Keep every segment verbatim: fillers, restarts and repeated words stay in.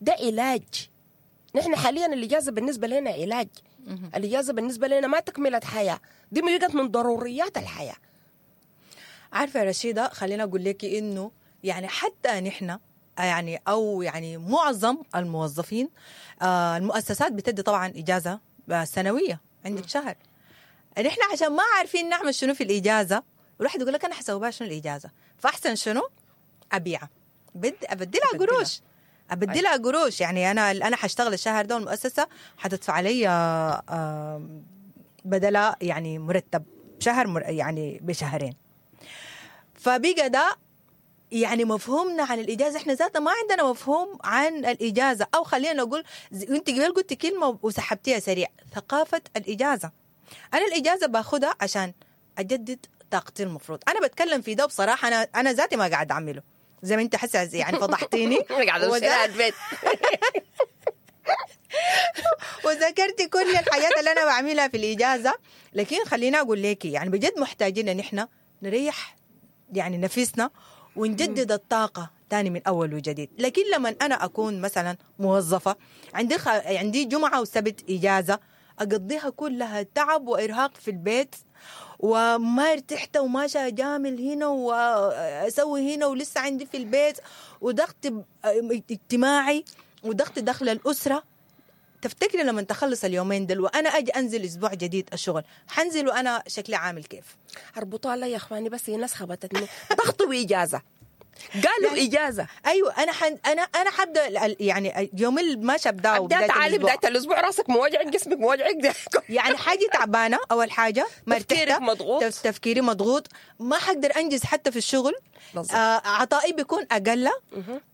ده علاج. نحن حاليا الاجازة بالنسبة لنا علاج. الاجازة بالنسبة لنا ما تكمله حياة، دي بقت من ضروريات الحياة. عارفه يا رشيده، خلينا اقول لك انه يعني حتى نحن يعني او يعني معظم الموظفين، آه المؤسسات بتدي طبعا اجازه سنوية عندك شهر. نحن عشان ما عارفين نعمل شنو في الاجازة، والواحد يقول لك انا حسوي بها شنو الاجازة، فاحسن شنو؟ ابيعها، بد ابدلها قروش، ابدلها قروش. يعني انا انا حاشتغل الشهر ده والمؤسسة حتدفع علي آه بدلها يعني مرتب شهر مر يعني بشهرين. فبقى ده يعني مفهومنا عن الاجازة، احنا ذاتنا ما عندنا مفهوم عن الاجازة، او خلينا نقول انت قبل قلتي كلمة وسحبتيها سريع، ثقافة الاجازة. انا الاجازة باخدها عشان اجدد طاقتي. المفروض انا بتكلم في ده بصراحة، انا انا ذاتي ما قاعد اعمله زي ما انت حاسه، يعني فضحتيني. قاعدة البيت وذكرتي كل الحاجات اللي انا بعملها في الاجازة. لكن خليني اقول لك يعني بجد محتاجين ان احنا نريح يعني نفسنا ونجدد الطاقة تاني من أول وجديد. لكن لما أنا أكون مثلا موظفة عندي خ... عندي جمعة وسبت إجازة أقضيها كلها تعب وإرهاق في البيت، وما ارتحت وماشى أجامل هنا وأسوي هنا ولسه عندي في البيت وضغط اجتماعي وضغط دخل الأسرة. تفتكري لما تخلص اليومين دل وأنا أجي أنزل أسبوع جديد الشغل، حنزل وأنا شكلي عامل كيف؟ اربطوها لي يا اخواني، بس هي ناس خبطتني ضغط واجازه، قالوا يعني اجازه. ايوه انا حن انا انا حبدا يعني يوم اللي ما شبدا وبداية تعالي بداية الاسبوع راسك موجعك، جسمك موجعك، يعني حاجة تعبانة. اول حاجة ما تفكيرك مضغوط، تفكيري مضغوط، ما حقدر انجز حتى في الشغل، آه عطائي بيكون اقل.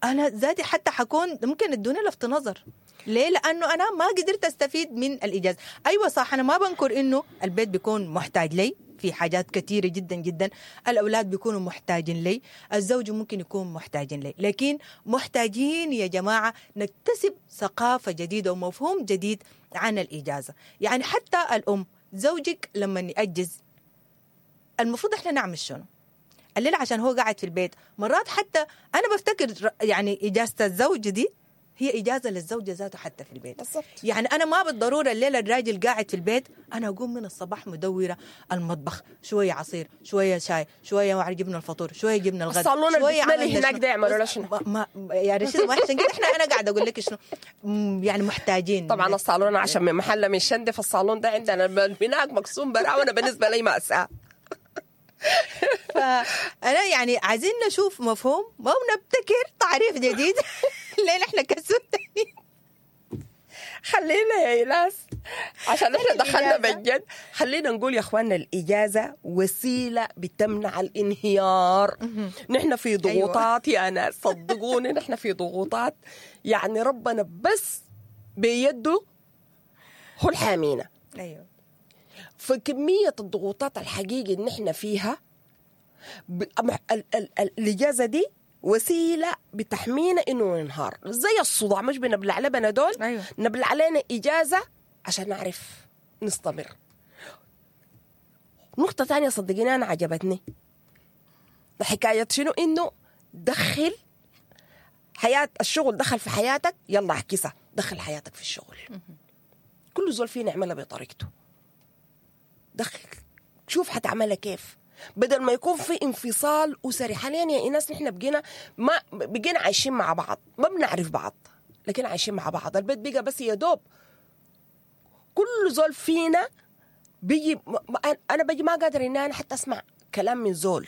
انا ذاتي حتى حكون ممكن ادوني لفت نظر. ليه؟ لانه انا ما قدرت استفيد من الاجازة. ايوه صح، انا ما بنكر انه البيت بيكون محتاج لي في حاجات كثيرة جدا جدا، الأولاد بيكونوا محتاجين لي، الزوج ممكن يكون محتاجين لي، لكن محتاجين يا جماعة نكتسب ثقافة جديدة ومفهوم جديد عن الإجازة. يعني حتى الأم زوجك لما يأجز المفروض احنا نعمل شنو؟ الليلة عشان هو قاعد في البيت، مرات حتى أنا بفتكر يعني إجازة الزوج دي هي إجازة للزوجة ذاته حتى في البيت. بالضبط. يعني أنا ما بالضرورة الليلة الراجل قاعد في البيت أنا أقوم من الصباح مدورة المطبخ، شوية عصير، شوية شاي، شوية ما جبنا الفطور، شوية جبنا الغداء، الصالون اللي هناك ده يعملوا شنو؟ ما يا رشيد ما عشان كده احنا أنا قاعدة أقول لك شنو يعني محتاجين. طبعا الصالون عشان من محل من شندي، فالصالون ده عندنا هناك مقسوم برا، وأنا بالنسبة لي مأساة. فأنا يعني عايزين نشوف مفهوم ما نبتكر تعريف جديد ليه نحن كسودانيين. خلينا يا إيلاس عشان احنا دخلنا بالجد، خلينا نقول يا اخواننا الإجازة وسيلة بتمنع الانهيار. نحن في ضغوطات. أيوة. يا ناس صدقوني نحن في ضغوطات، يعني ربنا بس بيده هو الحامينا. أيوة. فكمية الضغوطات الحقيقية اللي نحن فيها ب... ال... ال... ال... الإجازة دي وسيلة بتحمينا إنه ننهار زي الصداع، مش بنبلع لبنا دول. أيوة. نبلع علينا إجازة عشان نعرف نستمر. نقطة تانية صدقيني أنا عجبتني حكاية شنو، إنه دخل حياة الشغل، دخل في حياتك، يلا اعكسها، دخل حياتك في الشغل. كل زول فينا يعملها بطريقته، دخل شوف حتعملها كيف، بدل ما يكون في انفصال أسري. حاليا يا إيناس نحن بقينا ما بقينا عايشين مع بعض، ما بنعرف بعض لكن عايشين مع بعض. البيت بقى بس يا دوب كل زول فينا بيجي، أنا بيجي ما قادر إن أنا حتى أسمع كلام من زول،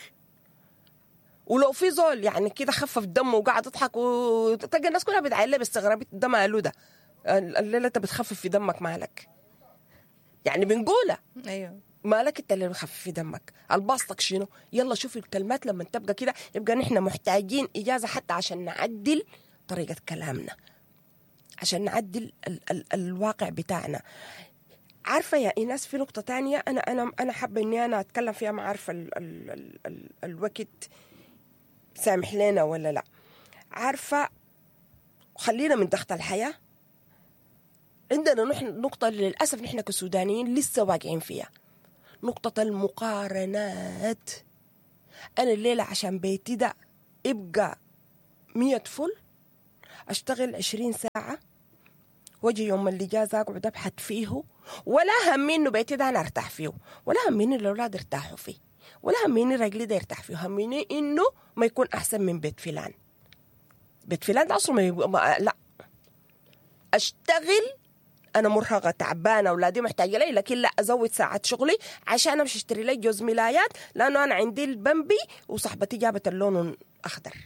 ولو في زول يعني كده خفف دمه وقاعد يضحك وتلقى الناس كلها بتعلق باستغراب، ده ماله ده الليلة أنت بتخفف في دمك مالك؟ يعني بنقولها. أيوه مالك انت اللي بخفف في دمك، الباسطك شنو؟ يلا شوف الكلمات لما تبقى كده. يبقى نحن محتاجين إجازة حتى عشان نعدل طريقة كلامنا، عشان نعدل ال ال الواقع بتاعنا. عارفة يا إيناس في نقطة تانية أنا أنا أنا حابة إني أنا أتكلم فيها، ما عارفة ال ال ال ال الوقت سامح لنا ولا لا. عارفة خلينا من ضغط الحياة، عندنا نحن نقطة للأسف نحن كسودانيين لسه واقعين فيها، نقطة المقارنات. أنا الليلة عشان بيتي ده يبقى مية فل، اشتغل عشرين ساعة واجي يوم الاجازة اقعد ابحث فيه، ولا همي انه بيتي ده انا ارتاح فيه، ولا هميني الاولاد ارتاحوا فيه، ولا هميني رجلي ده يرتاح فيه، هميني انه ما يكون احسن من بيت فلان. بيت فلان ده اصلا ما يبقى ما لا اشتغل انا مرهقة تعبانة اولادي محتاجه لي، لكن لا ازود ساعات شغلي عشان امشي اشتري لي جوز ملايات لانه انا عندي البمبي وصاحبتي جابت اللون الاخضر.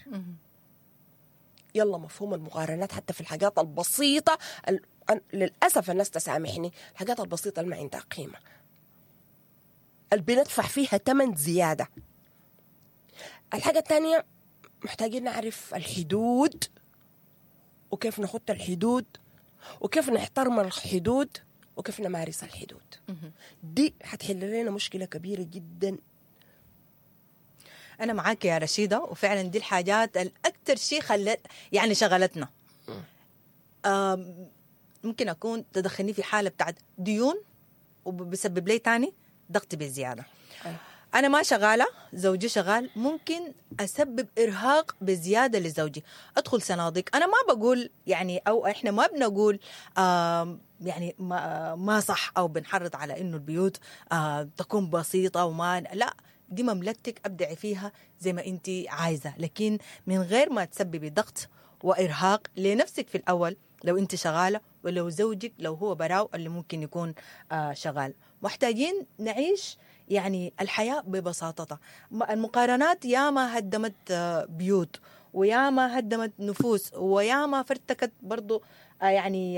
يلا مفهوم المقارنات حتى في الحاجات البسيطة ال... للاسف الناس تسامحني، الحاجات البسيطة اللي ما عندها قيمة اللي بندفع فيها ثمن زيادة. الحاجة الثانية محتاجين نعرف الحدود، وكيف نخط الحدود، وكيف نحترم الحدود، وكيف نمارس الحدود. دي حتحل لنا مشكلة كبيرة جدا. أنا معاك يا رشيدة، وفعلا دي الحاجات الأكثر شيء خلت يعني شغلتنا. ممكن أكون تدخلني في حالة بتاعت ديون وبسبب لي تاني ضغط بزيادة. أنا ما شغالة، زوجي شغال، ممكن أسبب إرهاق بزيادة لزوجي، أدخل صناديق. أنا ما بقول يعني أو إحنا ما بنقول آه يعني ما, ما صح أو بنحرض على إنه البيوت آه تكون بسيطة وما، لا، دي مملكتك أبدعي فيها زي ما أنت عايزة، لكن من غير ما تسببي ضغط وإرهاق لنفسك في الأول لو أنت شغالة، ولو زوجك لو هو براو اللي ممكن يكون آه شغال. محتاجين نعيش يعني الحياة ببساطتها. المقارنات ياما هدمت بيوت، وياما هدمت نفوس، وياما فرتكت برضو يعني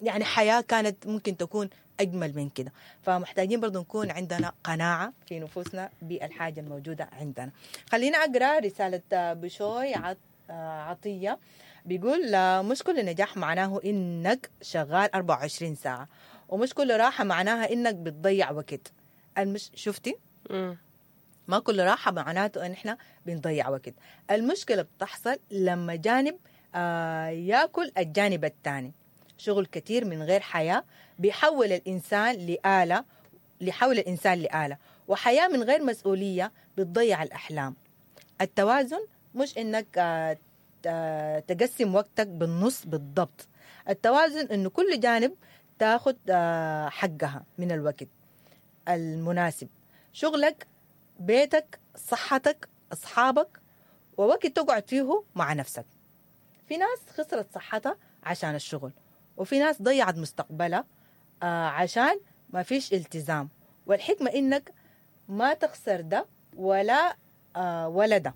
يعني حياة كانت ممكن تكون أجمل من كده. فمحتاجين برضو نكون عندنا قناعة في نفوسنا بالحاجة الموجودة عندنا. خلينا أقرأ رسالة بشوي عطية، بيقول مش كل نجاح معناه إنك شغال أربعة وعشرين ساعة، ومش كل راحة معناها إنك بتضيع وقت. المش شفتي؟ مم. ما كل راحة معناته إن إحنا بنضيع وقت. المشكلة بتحصل لما جانب آه يأكل الجانب الثاني. شغل كتير من غير حياة بيحول الإنسان لآلة، لحول الإنسان لآلة، وحياة من غير مسؤولية بتضيع الأحلام. التوازن مش إنك آه تقسم وقتك بالنص بالضبط. التوازن إنه كل جانب تاخد آه حقها من الوقت المناسب، شغلك، بيتك، صحتك، أصحابك، ووقت تقعد فيه مع نفسك. في ناس خسرت صحتها عشان الشغل، وفي ناس ضيعت مستقبلها آه عشان ما فيش التزام. والحكمة إنك ما تخسر ده ولا آه ولا ده.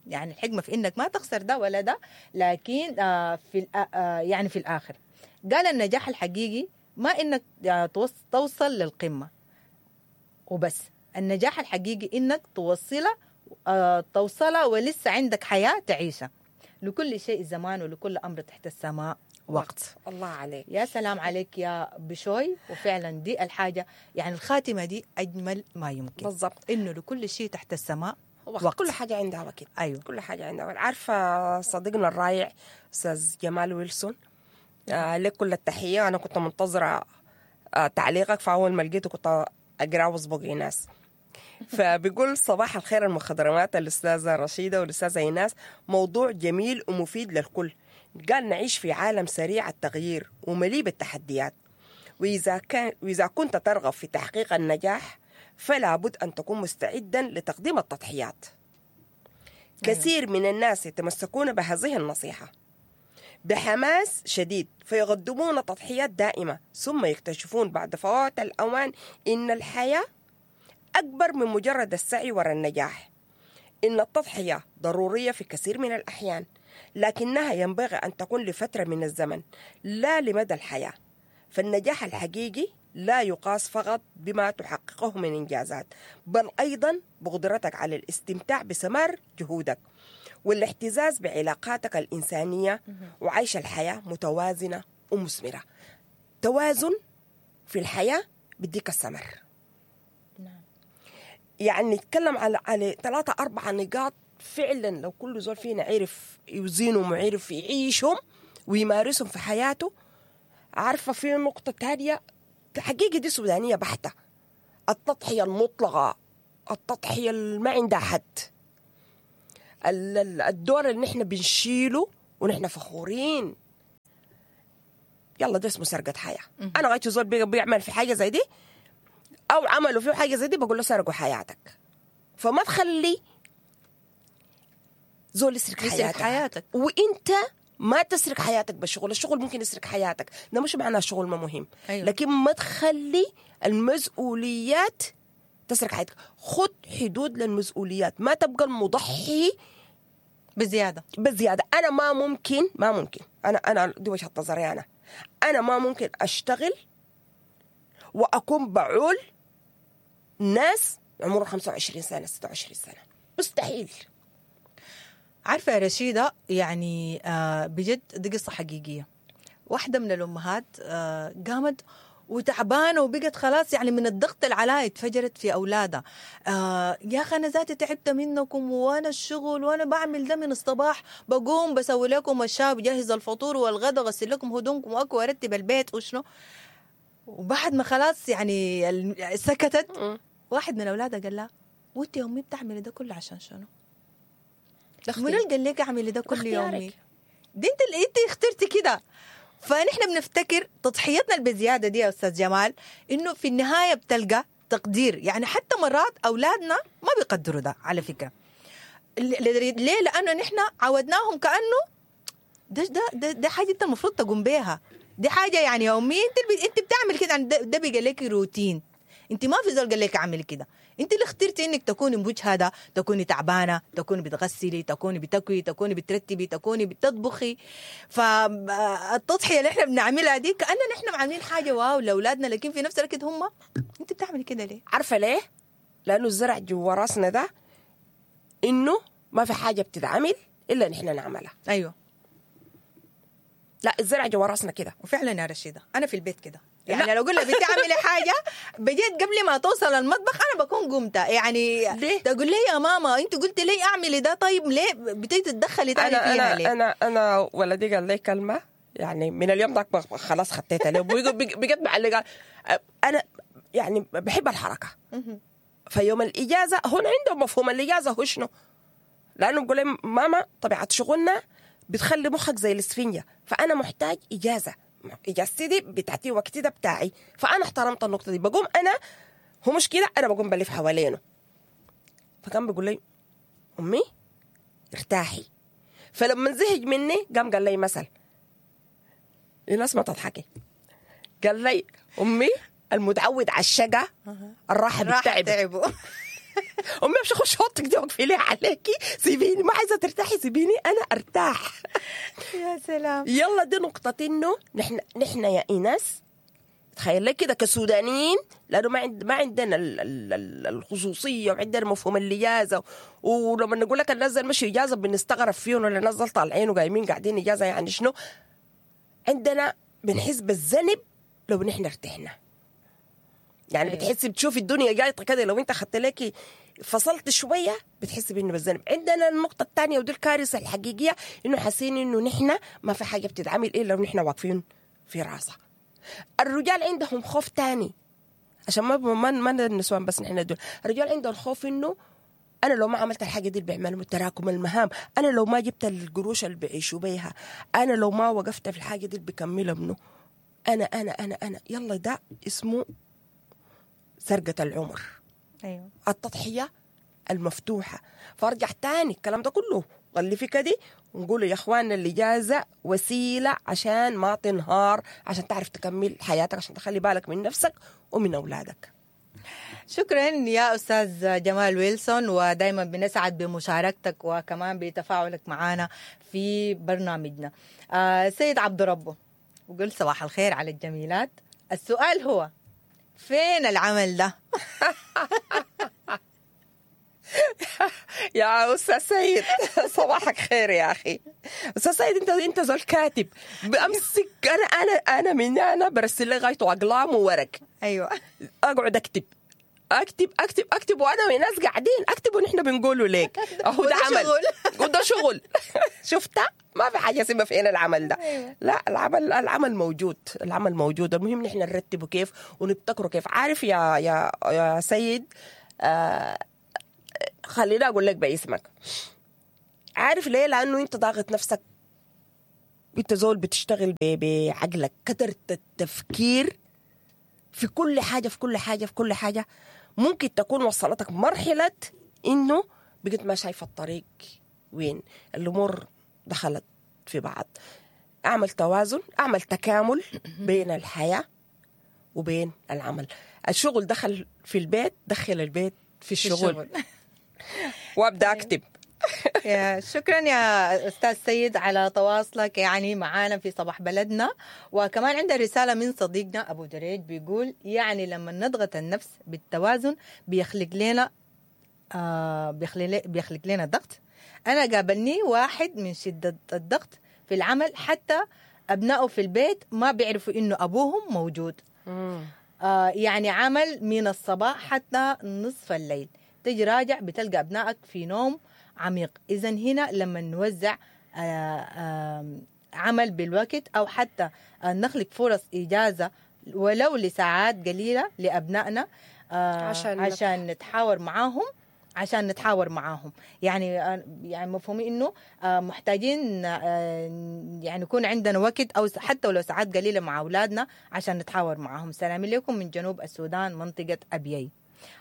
يعني الحكمة في إنك ما تخسر ده ولا ده، لكن آه في آه يعني في الآخر قال النجاح الحقيقي ما إنك توصل للقمة وبس، النجاح الحقيقي إنك توصله آه توصله ولسه عندك حياة تعيشها. لكل شيء زمان ولكل أمر تحت السماء وقت. الله عليك، يا سلام عليك يا بشوي. وفعلا دي الحاجة، يعني الخاتمة دي أجمل ما يمكن بالضبط، إنه لكل شيء تحت السماء وقت. وقت. كل حاجة عندها وقت. أيوة. كل حاجة عندها وقت. عارفة صديقنا الرائع أستاذ جمال ويلسون، آه لك كل التحية. أنا كنت منتظرة آه تعليقك، فأول ما لقيته كنت أقرأ وأسبق إيناس. فبيقول صباح الخير المخضرمات الأستاذة رشيدة والأستاذة إيناس، موضوع جميل ومفيد للكل. قال نعيش في عالم سريع التغيير ومليء بالتحديات، وإذا كان وإذا كنت ترغب في تحقيق النجاح فلا بد أن تكون مستعدا لتقديم التضحيات. كثير من الناس يتمسكون بهذه النصيحة بحماس شديد، فيقدمون تضحيات دائمة، ثم يكتشفون بعد فوات الأوان إن الحياة أكبر من مجرد السعي وراء النجاح. إن التضحية ضرورية في كثير من الأحيان، لكنها ينبغي أن تكون لفترة من الزمن لا لمدى الحياة. فالنجاح الحقيقي لا يقاس فقط بما تحققه من إنجازات، بل أيضا بقدرتك على الاستمتاع بثمار جهودك والاحتزاز بعلاقاتك الإنسانية وعيش الحياة متوازنة ومثمرة. توازن في الحياة بديك الثمر. نعم. يعني نتكلم على على ثلاثة أربعة نقاط فعلا لو كل زول فينا عرف يوزنهم وعرف يعيشهم ويمارسهم في حياته. عارفة في نقطة تانية حقيقة دي سودانية بحتة، التضحية المطلقة، التضحية اللي ما عندها حد، الدور اللي نحن بنشيله ونحن فخورين. يلا ده اسمه سرقه حياة. انا غايته زول بيعمل في حاجة زي دي او عملوا فيه حاجة زي دي بقول له سرقوا حياتك. فما تخلي زول يسرق حياتك. حياتك وانت ما تسرق حياتك بالشغل. الشغل ممكن يسرق حياتك، ده مش معناه الشغل ما مهم. أيوة. لكن ما تخلي المسؤوليات تسرق حياتك. خد حدود للمسؤوليات، ما تبقى المضحي بزيادة بزيادة. انا ما ممكن ما ممكن انا انا دي وجهه نظري، انا انا ما ممكن اشتغل واكون بعول ناس عمرهم خمسة وعشرين سنة ستة وعشرين سنة، مستحيل. عارفه يا رشيده، يعني آه بجد دي قصة حقيقية. واحدة من الامهات آه قامت وتعبانه وبقت خلاص يعني من الضغط اللي عليها اتفجرت في اولادها. آه يا اخي انا ذاتي تعبت منكم، وانا الشغل وانا بعمل ده من الصباح، بقوم بسوي لكم الشاي وجهز الفطور والغدا وغسل لكم هدومكم واكل وارتب البيت وشنو. وبعد ما خلاص يعني سكتت، واحد من اولادها قال لها وانت يا امي بتعملي ده كله عشان شنو؟ منو اللي قال لك اعملي ده كل يومي؟ دي انت اللي انت اخترتي كده. فنحن بنفتكر تضحيتنا البزياده دي يا استاذ جمال انه في النهاية بتلقى تقدير. يعني حتى مرات اولادنا ما بيقدروا ده على فكرة. ليه؟ لانه نحن عودناهم كانه ده ده ده, ده حاجة انت المفروض تقوم بيها، دي حاجة يعني يوميا انت انت بتعمل كده، يعني ده, ده بقى لك روتين. انت ما في زول قال لك اعمل كده، انت اللي اخترتي انك تكوني مجهده، تكوني تعبانة، تكوني بتغسلي، تكوني بتكوي، تكوني بترتبي، تكوني بتطبخي. فالتضحيه اللي احنا بنعملها دي كاننا نحن عاملين حاجة واو لاولادنا، لكن في نفس الوقت هم انت بتعملي كده ليه؟ عارفه ليه؟ لانه الزرع جوا راسنا ده انه ما في حاجة بتتعمل الا نحن نعملها. ايوه، لا الزرع جوا راسنا كده. وفعلا يا رشيده انا في البيت كده، يعني لو قلنا بتعملي حاجة بجد قبل ما توصل المطبخ انا بكون قمت. يعني ليه؟ تقول لي يا ماما انت قلت لي اعملي ده، طيب ليه بتيجي تتدخلي تاني أنا فيها أنا ليه؟ انا انا ولدي قال لي كلمة يعني من اليوم ذاك خلاص خطيتها له بجد معلقه. انا يعني بحب الحركة، فيوم الاجازة هون عندهم مفهوم الاجازة هو شنو؟ لانه بقول لي ماما طبيعة شغلنا بتخلي مخك زي الاسفنجه، فانا محتاج اجازه، اجازتي دي بتاعتي وقتي ده بتاعي. فانا احترمت النقطة دي، بقوم انا هو مش كده، انا بقوم بلف حوالينه. فكان بيقول لي امي ارتاحي. فلما زهج مني قام قال لي مثل الناس ما تضحكي، قال لي امي المتعود على الشقة الراحة بتتعب. امي مش اخش اوضتك دي وقفي لي عليكي، سيبيني ما عايزه ترتاحي، سيبيني انا ارتاح. يا سلام. يلا دي نقطة انه نحن نحن يا ايناس تخيل لك كده كسودانيين، لانه ما عند ما عندنا ال ال الخصوصية وعندنا مفهوم الاجازة، ولما نقول لك الناس مشي اجازه بنستغرب فيهم، ولا الناس طالعين وقايمين قاعدين اجازه يعني شنو؟ عندنا بنحس بالذنب لو نحن ارتحنا. يعني أيوة. بتحسي بتشوفي الدنيا جايطه كده، لو انت خدت لك فصلت شوية بتحسي بانه بالذنب. عندنا النقطة الثانية ودي الكارثة الحقيقية، انه حاسين انه نحن ما في حاجة بتتعمل الا لو نحن واقفين في راسها. الرجال عندهم خوف ثاني، عشان ما ما ما النسوان بس نحن دول، الرجال عندهم خوف انه انا لو ما عملت الحاجة دي اللي بيعملوا تراكم المهام، انا لو ما جبت القروش اللي بيعيشوا بيها، انا لو ما وقفت في الحاجة دي اللي بكملها منه، انا انا انا انا يلا ده اسمه سرقة العمر. أيوة. التضحية المفتوحة. فارجع تاني الكلام ده كله غلفي كده ونقول يا اخواننا الاجازة وسيلة عشان ما تنهار، عشان تعرف تكمل حياتك، عشان تخلي بالك من نفسك ومن أولادك. شكرا يا أستاذ جمال ويلسون، ودايما بنسعد بمشاركتك وكمان بتفاعلك معنا في برنامجنا. آه سيد عبد ربه وقل صباح الخير على الجميلات. السؤال هو فين العمل ده؟ يا أستاذ سيد صباحك خير يا أخي. أستاذ سيد أنت أنت زول كاتب، بأمسك أنا أنا أنا من أنا برسل لي غايته أقلام وورق. أيوة. أقعد أكتب اكتب اكتب اكتب وانا وناس قاعدين اكتب ونحن بنقوله ليك اهو ده عمل وده شغل. شفتها؟ ما في حاجة اسمها فين العمل ده. أيوة. لا العمل العمل موجود، العمل موجود، المهم نحن نرتبه كيف ونبتكره كيف. عارف يا يا يا سيد، آه خليني اقول لك باسمك. عارف ليه؟ لانه انت ضاغط نفسك انت زول بتشتغل بعقلك، كثرة التفكير في كل حاجة في كل حاجة في كل حاجة ممكن تكون وصلتك مرحلة انه بقيت ما شايفه الطريق وين، الامور دخلت في بعض. اعمل توازن، اعمل تكامل بين الحياة وبين العمل. الشغل دخل في البيت، دخل البيت في الشغل, في الشغل. وابدا اكتب. يا شكرا يا استاذ سيد على تواصلك يعني معانا في صباح بلدنا. وكمان عندنا رسالة من صديقنا ابو دريج بيقول يعني لما نضغط النفس بالتوازن بيخلق لنا آه بيخلق, بيخلق لنا ضغط. انا قابلني واحد من شده الضغط في العمل حتى ابنائه في البيت ما بيعرفوا انه ابوهم موجود. آه يعني عمل من الصباح حتى نصف الليل، تجي راجع بتلقى ابنائك في نوم عميق. إذا هنا لما نوزع آآ آآ عمل بالوقت أو حتى نخلق فرص إجازة ولو لساعات قليلة لأبنائنا عشان, عشان نتحاور معاهم عشان نتحاور معاهم يعني يعني مفهومي إنه محتاجين يعني يكون عندنا وقت أو حتى ولو ساعات قليلة مع أولادنا عشان نتحاور معاهم. سلامي لكم من جنوب السودان منطقة أبيي.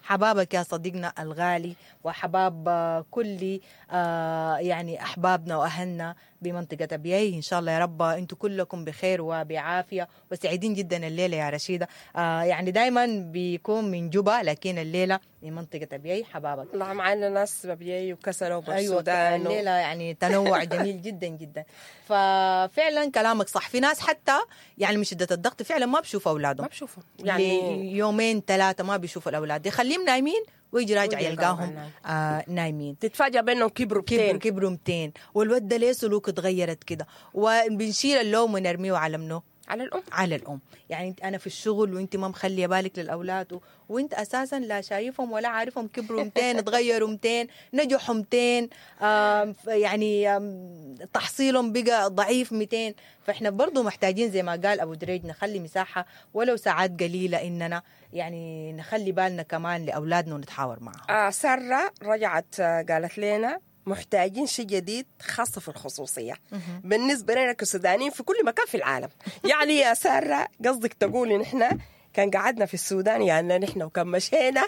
حبابك يا صديقنا الغالي وحباب كل يعني أحبابنا وأهلنا بمنطقة أبيي. إن شاء الله يا رب أنتم كلكم بخير وبعافية وسعيدين جدا الليلة يا رشيدة. يعني دايما بيكون من جوبا لكن الليلة من منطقة أبيي. حبابك الله معنا ناس أبيي وكسلة وبالسودان. أيوة الليلة يعني تنوع جميل جدا جدا. ففعلا كلامك صح، في ناس حتى يعني من شدة الضغط فعلا ما بشوفوا أولادهم، ما بشوفوا يعني يومين ثلاثة ما بيشوفوا الأولاد، يخليهم نايمين ويجي راجع يلقاهم آه نايمين. تتفاجأ بأنهم كبروا مئتين كبروا مئتين والود ده ليه سلوك اتغيرت كده، وبنشيل اللوم ونرميه على منه؟ على الأم. على الأم. يعني أنا في الشغل وأنت ما مخلية بالك للأولاد و... وأنت أساسا لا شايفهم ولا عارفهم كبروا مئتين اتغيروا مئتين نجحوا مئتين آه يعني آم تحصيلهم بقى ضعيف مئتين. فإحنا برضو محتاجين زي ما قال أبو دريج نخلي مساحة ولو ساعات قليلة إننا يعني نخلي بالنا كمان لأولادنا ونتحاور معهم. آه سارة رجعت قالت لنا محتاجين شيء جديد خاصة في الخصوصية بالنسبة لنا كسودانيين في كل مكان في العالم. يعني يا سارة قصدك تقولي نحن كان قعدنا في السودان يعني نحن وكان مشينا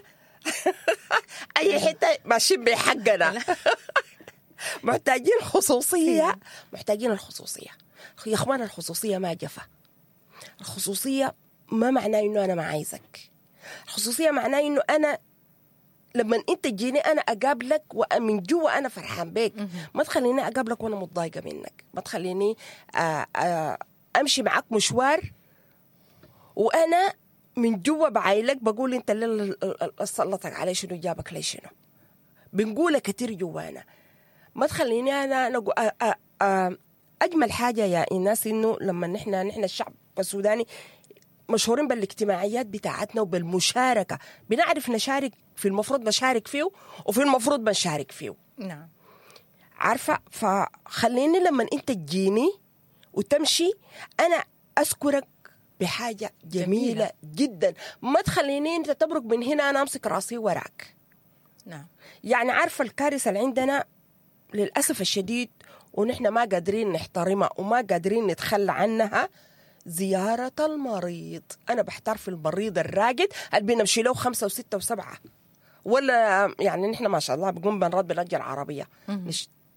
أي حتة ماشيين بحقنا. محتاجين خصوصية، محتاجين الخصوصية يا إخوان. الخصوصية ما جفا، الخصوصية ما معناه إنه أنا ما عايزك، الخصوصية معناه إنه أنا لما انت تجيني انا اقابلك ومن جوا انا فرحان بيك، ما تخليني اقابلك وانا متضايقة منك، ما تخليني امشي معاك مشوار وانا من جوا بعايلك بقول انت اللي سلطك علي شنو، جابك لي شنو، بنقولها كتير جوانا. ما تخليني انا انا اجمل حاجة يا الناس انه لما نحن نحن الشعب السوداني مشهورين بالاجتماعيات بتاعتنا وبالمشاركة، بنعرف نشارك في المفروض نشارك فيه وفي المفروض ما نشارك فيه. نعم عارفة. فخليني لما انت تجيني وتمشي انا اذكرك بحاجة جميلة, جميلة جدا، ما تخليني انت تبرك من هنا انا امسك راسي وراك. نعم يعني عارفة الكارثة اللي عندنا للأسف الشديد ونحن ما قادرين نحترمها وما قادرين نتخلى عنها، زيارة المريض. أنا بحتار في المريض الراقد اللي بنمشي له خمسة وستة وسبعة، ولا يعني نحن ما شاء الله بنقوم بنرد بنرجع العربية،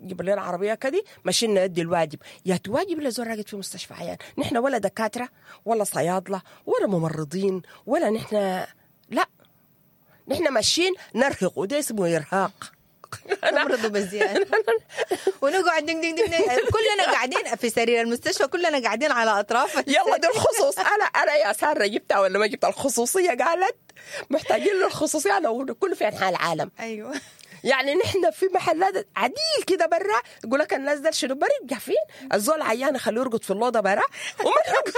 نجيب لنا العربية كدي ماشيين ندي الواجب. يا تواجب لزول راقد في مستشفى عيان. نحن ولا دكاترة ولا صيادلة ولا ممرضين ولا نحن، لا نحن ماشيين نرهق، وده اسمه إرهاق. نمرضوا بزيادة ونقعد دing دing دing، كلنا قاعدين في سرير المستشفى، كلنا قاعدين على أطراف. يلا دي الخصوص. أنا أنا يا سارة جبتها ولا ما جبتها؟ الخصوصية قالت محتاجين للخصوصية لو كله في أنحاء العالم. أيوة يعني نحن في محلات عديل كده برا يقول لك الناس ده شنو برا جافين الزول عيان خليه يرقد في اللوضه برا وما يرقد.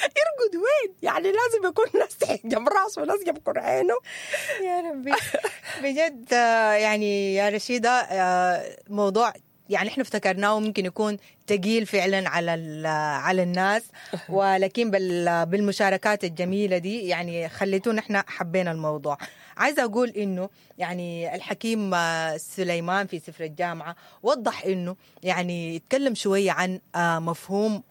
يرقد وين؟ يعني لازم يكون ناس جنب راسه وناس جنب كرعينه. يا ربي بجد يعني يا رشيدة موضوع يعني احنا افتكرناه ممكن يكون تقيل فعلا على على الناس، ولكن بالمشاركات الجميلة دي يعني خليتونا احنا حبينا الموضوع. عايزه اقول انه يعني الحكيم سليمان في سفر الجامعة وضح انه يعني يتكلم شوية عن مفهوم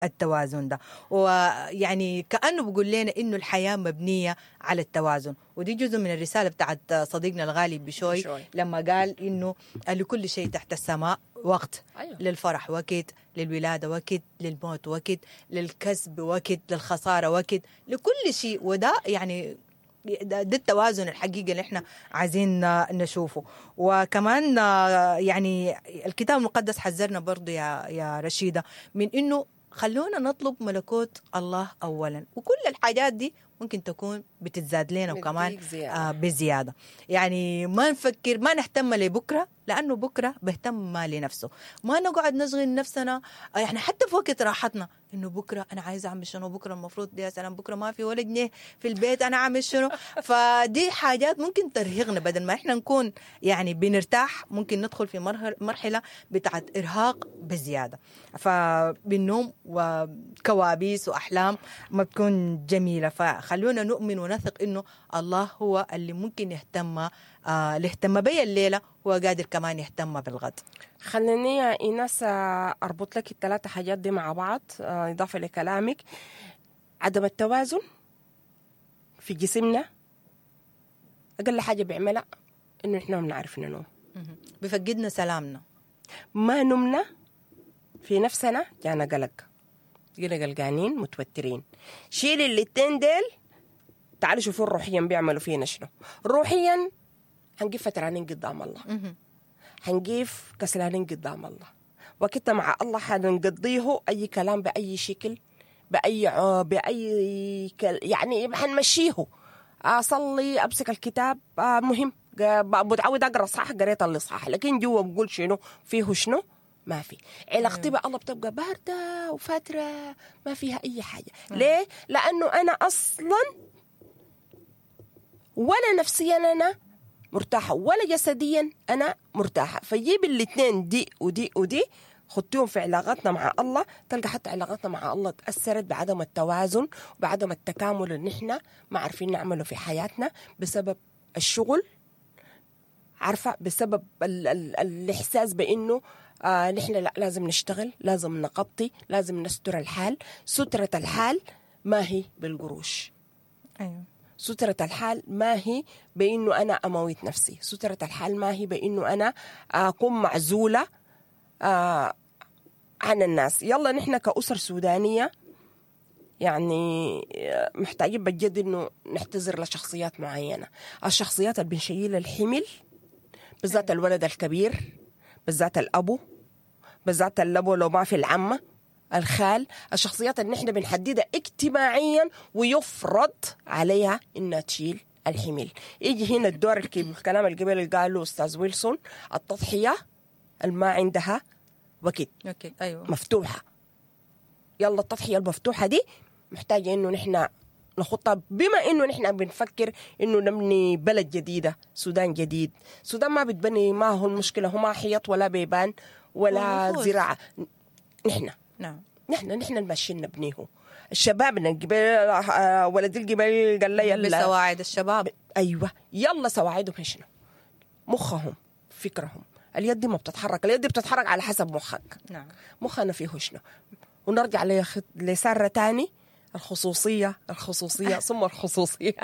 التوازن ده، ويعني كانه بيقول لنا انه الحياة مبنية على التوازن، ودي جزء من الرسالة بتاعت صديقنا الغالي بشوي لما قال انه لكل شيء تحت السماء وقت. أيوة. للفرح وقت، للولادة وقت، للموت وقت، للكسب وقت، للخسارة وقت، لكل شيء. وده يعني ده, ده التوازن الحقيقي اللي احنا عايزين نشوفه. وكمان يعني الكتاب المقدس حذرنا برضو يا يا رشيدة من انه خلونا نطلب ملكوت الله اولا، وكل الحاجات دي ممكن تكون بتتزاد لنا وكمان آه بزيادة. يعني ما نفكر، ما نهتم لبكرة، لأنه بكرة بهتم لنفسه. ما نقعد نشغل نفسنا يعني حتى في وقت راحتنا إنه بكرة أنا عايزة أعمل شنو، بكرة المفروض يا سلام، بكرة ما في ولا جنيه في البيت أنا أعمل شنو. فدي حاجات ممكن ترهقنا، بدل ما إحنا نكون يعني بنرتاح ممكن ندخل في مرحلة بتاعت إرهاق بزيادة، فبالنوم وكوابيس وأحلام ما بتكون جميلة. فخلونا نؤمن ونثق إنه الله هو اللي ممكن يهتم، آه اللي اهتم بي الليلة هو قادر كمان يهتم بالغد. خليني يا إيناس أربط لك الثلاثة حاجات دي مع بعض، إضافة لكلامك. عدم التوازن في جسمنا أقل حاجة بيعملها إنه إحنا ما بنعرف ننوم، بفقدنا سلامنا، ما نمنا في نفسنا جانا قلق، جينا قلقانين متوترين. شيل الاتنين ديل، تعالوا شوفوا روحيا بيعملوا فينا شنو. روحيا هنقف فترانين قدام الله، هنقف كسلانين قدام الله، وقتنا مع الله حنقضيه أي كلام بأي شكل بأي بأي كل... يعني حنمشيه. أصلي، أمسك الكتاب، مهم متعود أقرأ صح، قريت اللي صح، لكن جوا بقول شنو فيه شنو ما في. علاقتي بالله بتبقى باردة وفترة ما فيها أي حاجة. ليه؟ لأنه أنا أصلا ولا نفسيا أنا مرتاحة ولا جسديا أنا مرتاحة. فجيب الاثنين دي ودي ودي خدتهم في علاقتنا مع الله، تلقى حتى علاقتنا مع الله تأثرت بعدم التوازن وبعدم التكامل اللي نحن ما عارفين نعمله في حياتنا بسبب الشغل، عارفة، بسبب ال ال الإحساس بأنه آه نحن لا لازم نشتغل، لازم نغطي، لازم نستر الحال. سترة الحال ما هي بالقروش. أيوة. سترة الحال ما هي بأنه أنا أموت نفسي، سترة الحال ما هي بأنه أنا أكون معزولة آه عن الناس. يلا نحن كأسر سودانية يعني محتاجين بجد إنه نحتذر لشخصيات معينة، الشخصيات اللي بنشيل الحمل، بالذات الولد الكبير، بالذات الأبو، بالذات الأبو لو ما في العمة، الخال، الشخصيات اللي نحن بنحددها اجتماعيا ويفرض عليها إنها تشيل الحمل. يجي هنا الدور الكلام القبل اللي قاله أستاذ ويلسون، التضحية اللي ما عندها وقت. okay. أيوة. مفتوحة. يلا التضحية المفتوحة دي محتاجة إنه نحن نخطها، بما إنه نحن بنفكر إنه نبني بلد جديدة، سودان جديد. سودان ما بتبني، ما هو المشكلة هو ما حيط ولا بيبان ولا زراعة. نحن نعم نحن نحن الماشيين نبنيه. الشباب الجبال، ولد الجبال قال لي يلا بسواعد الشباب. أيوة يلا سواعدهم شنو؟ مخهم، فكرهم. اليد دي ما بتتحرك، اليد دي بتتحرك على حسب مخك. نعم. مخنا فيه شنو؟ ونرجع لسارة تاني، الخصوصية الخصوصية ثم الخصوصية.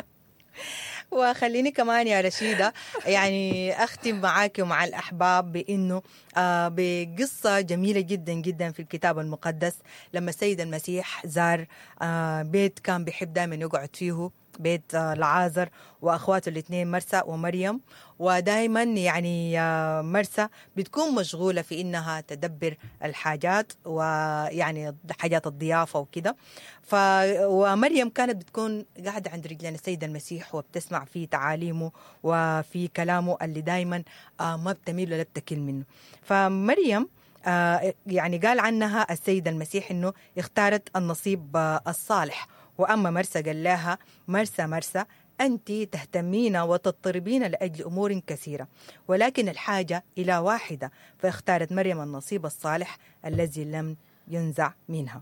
وخليني كمان يا رشيدة يعني أختم معاك ومع الأحباب بأنه آه بقصة جميلة جدا جدا في الكتاب المقدس، لما السيد المسيح زار آه بيت كان بيحب دائما يقعد فيه، بيت آه لعازر وأخواته الاثنين مرسى ومريم. ودائما يعني آه مرسى بتكون مشغولة في إنها تدبر الحاجات ويعني حاجات الضيافة وكده، ف ومريم كانت بتكون قاعدة عند رجلين السيد المسيح وبتسمع في تعاليمه وفي كلامه اللي دائما آه ما بتميل ولا بتكل منه. فمريم آه يعني قال عنها السيد المسيح إنه اختارت النصيب آه الصالح، وأما مرسى قال لها مرسى مرسى أنت تهتمين وتضطربين لأجل أمور كثيرة، ولكن الحاجة إلى واحدة. فاختارت مريم النصيب الصالح الذي لم ينزع منها.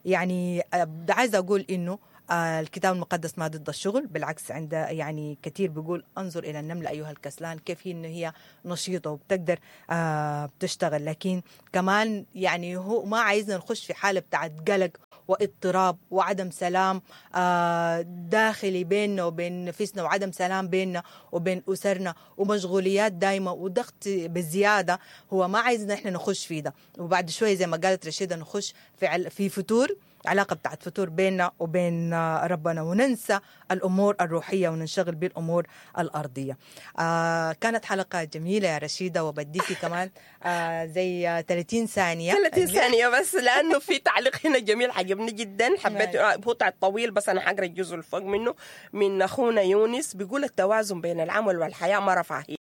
يعني آه، عايزة أقول إنه آه، الكتاب المقدس ما ضد الشغل، بالعكس عند يعني كثير بيقول انظر الى النملة ايها الكسلان، كيف هي انه هي نشيطه وبتقدر آه بتشتغل. لكن كمان يعني هو ما عايزنا نخش في حاله بتاعت قلق واضطراب وعدم سلام آه داخلي بيننا وبين نفسنا، وعدم سلام بيننا وبين اسرنا، ومشغوليات دايمه وضغط بزيادة. هو ما عايزنا احنا نخش في ده، وبعد شوية زي ما قالت رشيده نخش في عل- في فتور، علاقة بتاعت فتور بيننا وبين ربنا، وننسى الأمور الروحية وننشغل بالأمور الأرضية. آه كانت حلقة جميلة يا رشيدة، وبديكي كمان آه زي ثلاثين ثانية. ثلاثين ثانية بس، لأنه في تعليق هنا جميل عجبني جدا، حبيت هو طويل بس أنا حقرأ الجزء الفوق منه، من أخونا يونس بيقول التوازن بين العمل والحياة ما رفاهية.